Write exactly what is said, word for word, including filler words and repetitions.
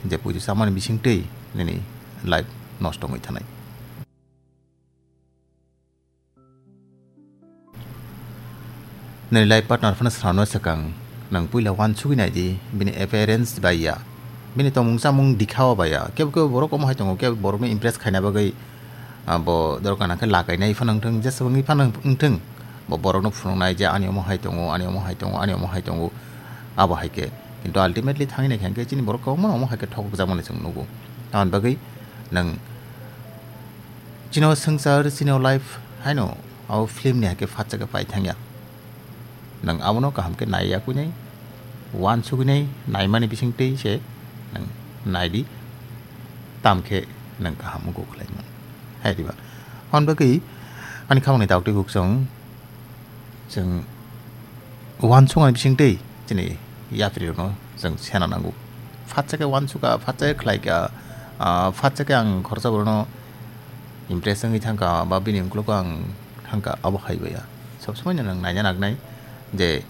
je puitu chamani bisingtwi nini life nosto wngwi thanai. Nini life partner phano swnamna swkang nwng puila uansugwi naidi, bini appearance bai ya, bini tongmung chamung dikha-o bai ya. Kebo kebo borok omo hai tongo, kebo borokno impress khaina bagwi, ah, bo dorkar nangkhe lakainai phano wngthung, jeswk wngwi phano wngthung, bo borokno phunuknai je ani omo hai tongo, ani omo hai tongo, ani omo hai tongo, abo hai khe. Kintu ultimately thangwi naikha hwnkhe chini borok kwbangma omo hai khe thokjakmani chwng nugo. Aboni bagwi nwng chini o swngchar, chini o life haino abo film ni hai khe phatsa khe pai thangya. Nwng abono kaham khe nai yakwi nai, uansugwi nai, naimani bisingtwi se nwng nai di, tam khe nwng kaham wngkuk khlai mano. Hai diba? Hwn bagwi ani khamani daktwi guk chwng, chwng uansukmani bisingtwi chini yapri rokno chwng sena nango. Phatsa khe uansukha, phatsa khe khlaikha, ah, phatsa khe ang khoroksa borokno impress wngwi thangkha, ba bini uklogo ang thangkha, abo hai bai ya. Sob somoi no nwng naina nangnai je